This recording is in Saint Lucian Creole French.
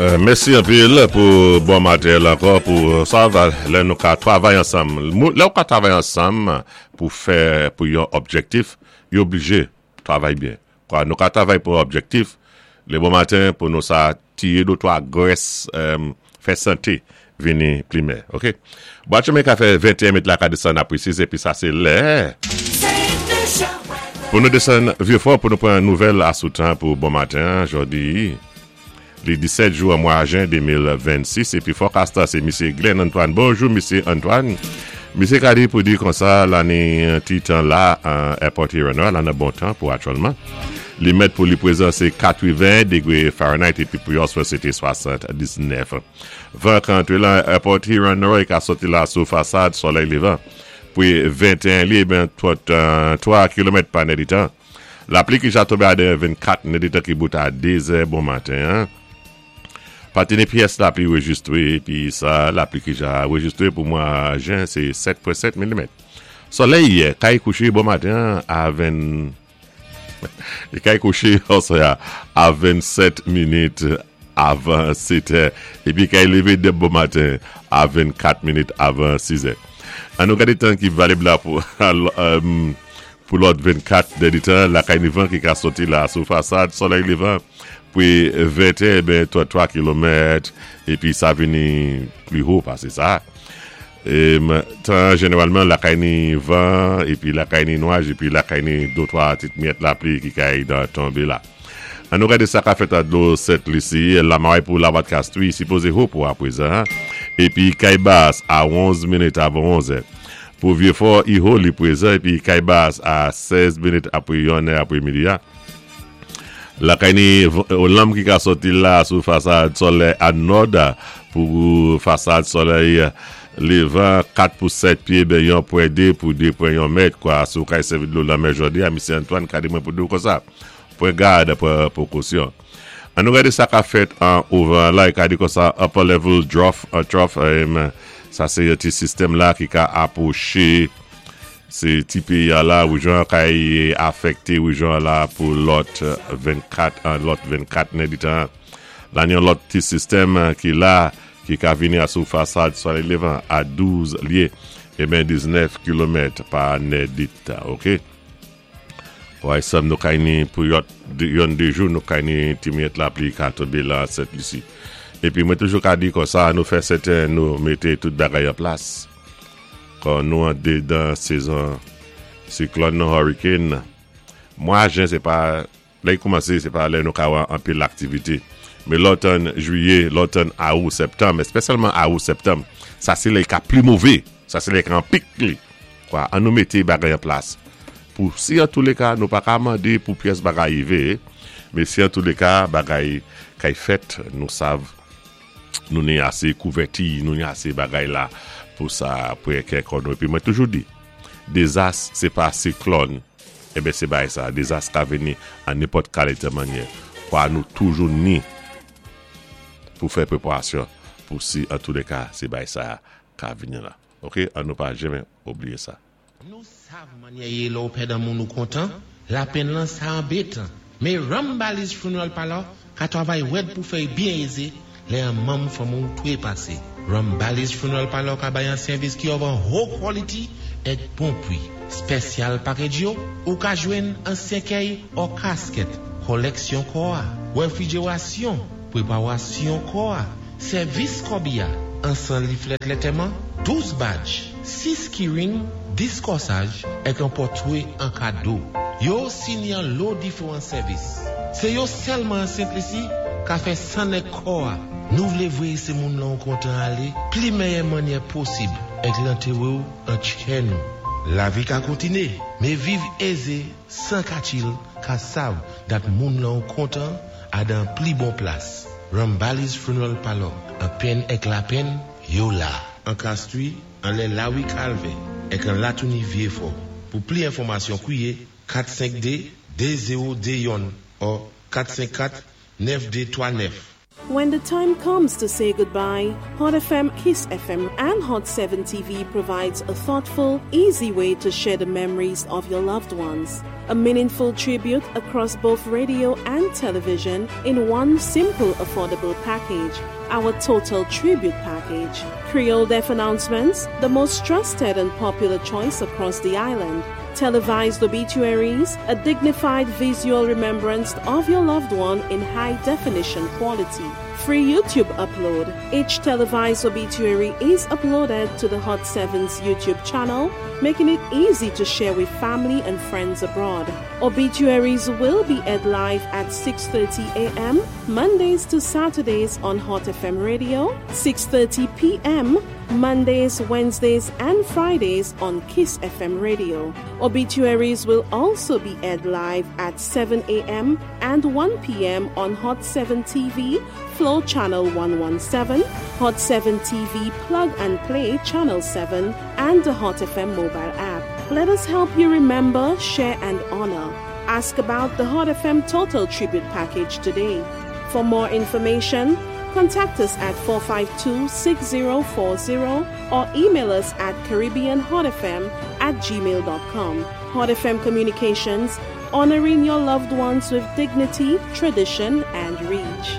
Mèsi anpil pou bon materyèl ankò pou sa va lè nou ka travay ansanm. Lè ou ka travay ansanm pou fè pou yon objektif, yo oblije travay byen. Kwa nou ka travay pou yon objektif, le bon maten pou nou sa tiye do 3 grès fè sante vini plimen. Ok. Bwat chemen ka fè 21 met la ka desann apre 6 epi sa se lè pou nou desann Vyefò pou nou pran nouvèl asoutan pou bon maten an jodi li 17 jou an mwa jen 2026 epi fòkas la se misye Glenn Antoine. Bonjou misye Antoine. Misye ka di pou di konsa lani ti tan la an Airport Huron la nan bon tan pou aktyèlman. Li mèt pou li prezan se 80 degre Fahrenheit epi pou yon swa se te 79. Van ka antre lan Airport Huron North ka soti la sou fasad solèy levan pou 21 li eben 33 kilomèt pa nèditan. Lapli ki ja tonbe a 24 nèditan ki bout a 2 zè bon maten an. Pa te ni pyès lapli rejistre epi sa lapli ki ja rejistre pou mwa jen se 7.7 milimèt. Solèy kay kouche bon maten an a 20. Li kay kouche aswè a a 27 minit avan 7 è epi kay leve dè bon maten a 24 minit avan 6 è. An nou gade tan ki valib la pou pou lòt 24 dèditan lakay ni van ki ka soti la sou fasad solèy levan pre 20 è ben 33 kilomèt epi sa vini pli ho pase sa. Tan an jeneralman lakay ni van epi lakay ni nwaj epi lakay ni dotwa tit miyèt lapli ki kay dan tonbe la. An nou gade sa ka fèt a dlo Sent Lisi, Lamay pou Lavat Kastri sipoze ho pou aprezan epi kay bas a 11 minit avan 11 è. Pou Vyefò i ho li prezan epi kay bas a 16 minit apre 1 è apre midi a. Lakay ni lanm ki ka sòti la sou fasad solèy a nòd pou fasad solèy levan 4 pou 7 pye ben yon pwen 2 pou 2 pwen yon mèt kwa sou kay sèvi dlo lanmè jodi a misye Antoine ka di mwen pou di w konsa pran gad pran pwokosyon an nou gade sa ka fèt an ouvan la e ka di konsa upper level trough trough sa se yon ti sistèm la ki ka apwoche Se ti peyi a la rejyon an kay afekte rejyon an la pou lòt 24 an lòt 24 nèditan an. La yon lòt ti sistèm ki la ki ka vini a sou fasad solèy levan a 12 lye e ben 19 kilomèt pa nèditan ok. Way sèm nou kay ni pou yòt yonn de jou nou kay ni ti miyèt lapli ka tonbe la Sent Lisi. Epi mwen toujou ka di konsa nou fè sèten nou mete tout bagay an plas. Kon nou andedan sezon siklòn nou hurricane, mwa jen se pa lè li koumanse se pa lè nou ka wè anpil aktivite. Men lè w tann jwiye, lè w tann awou, septanm, espesyalman awou, septanm, sa se lè li ka pli move, sa se lè li ka an pik li. Kwa, an nou mete bagay an plas pou si antouleka nou pa ka mande pou pyès bagay rive, men si antouleka bagay kay fèt nou sav. Nou ni ase kouvèti, nou ni ase bagay la pou sa pre kè kò nou. Epi mwen toujou di, dezas se pa siklòn, enben se bagay sa. Dezas ka vini an nenpòt kalite mannyè. Kwa nou toujou ni pou fè preparasyon pou si antoulèka se bagay sa ka vini la. Ok, an nou pa janmen obliye sa. Nou sav mannyè yé lè w pèd an moun ou kontan, lapenn lan sa anbetan. Men Rambali's Funeral Parlor ka twavay wèd pou fè y byen ézé lè an manm fanmi w twépasé. Rambali's Funeral Parlor ka bay an sèvis ki òv an ho quality èk bon pwi. Spèsyal package yo, ou ka jwenn an sèkèy ò kasket, kòlèksyon kò a, wèfrijerasyon, pwepawasyon kò a, sèvis kòbi a, ansan liflèt lètèman, 12 badj. 6 keyring, 10 kòsaj, èk yon pòtwe an kado. Yo osi ni an lo diferan sèvis. Se yo sèlman an Sent Lisi ka fè nèg kò a. Nou vle vwe se moun lan ou kontan ale pli mèyè mannyè posib èk lantere w an tchè nou. Lavi ka kontine, me viv eze 104 il ka sav dat moun lan ou kontan a dan pli bon plas. Rambali's Funeral Parlor, an penn èk lapenn, yo la. An Castries, anlè Lawi Kalvè, èk an Latouni Vyefò. Pou pli enfòmasyon kwiye 452 2021 ò 454 9239. When the time comes to say goodbye, Hot FM, Kiss FM, and Hot 7 TV provides a thoughtful, easy way to share the memories of your loved ones. A meaningful tribute across both radio and television in one simple, affordable package. Our Total Tribute Package. Creole Death Announcements, the most trusted and popular choice across the island. Televised obituaries, a dignified visual remembrance of your loved one in high definition quality. Free YouTube upload. Each televised obituary is uploaded to the Hot 7's YouTube channel, making it easy to share with family and friends abroad. Obituaries will be aired live at 6:30 a.m. Mondays to Saturdays on Hot FM Radio, 6:30 p.m. Mondays, Wednesdays, and Fridays on Kiss FM Radio. Obituaries will also be aired live at 7 a.m. and 1 p.m. on Hot 7 TV, Flow Channel 117, Hot 7 TV Plug and Play Channel 7, and the Hot FM mobile app. Let us help you remember, share, and honor. Ask about the Hot FM Total Tribute Package today. For more information, contact us at 452-6040 or email us at caribbeanhotfm@gmail.com. Hot FM Communications, honoring your loved ones with dignity, tradition, and reach.